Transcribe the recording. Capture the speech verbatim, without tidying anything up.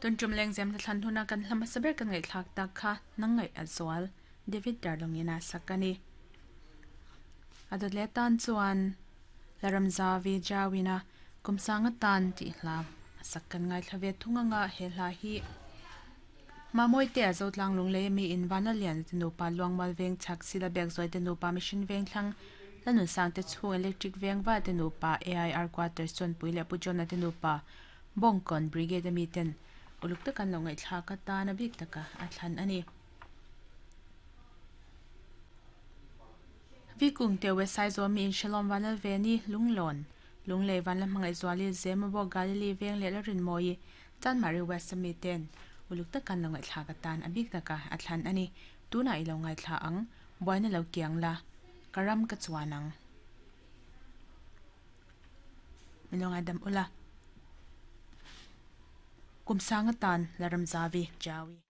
Tun tum leng zem na thlan huna kan hlama saber kan ngai thlak tak kha nangai azwal David Darlongina sakani adot le tan chuan laramzavi jawina kumsanga tan ti hla sakkan ngai thlave thunga nga he hla hi mamoi te azotlang lungle mi in vanalian te nupa luangmal veng chak sila bek zoi te nupa mission veng thlang lanun sang te chung electric veng va te nupa A I R quarters chon puile pujona te nupa bongkon brigade mi ten uluk takan lo ngai thla ka ta na bik taka a thlan ani vikung te wesai zo mi in shalom vanal veni lunglon lungle van la mangai zwali zemabo galili veng le la rin moi chan mari west mi ten uluk takan lo ngai thla ka tan abik taka a thlan ani tuna ilo ngai thla ang boina lo kiang la karam ka chuanang milonga dam ula kumsanga tan laramzavi jawi.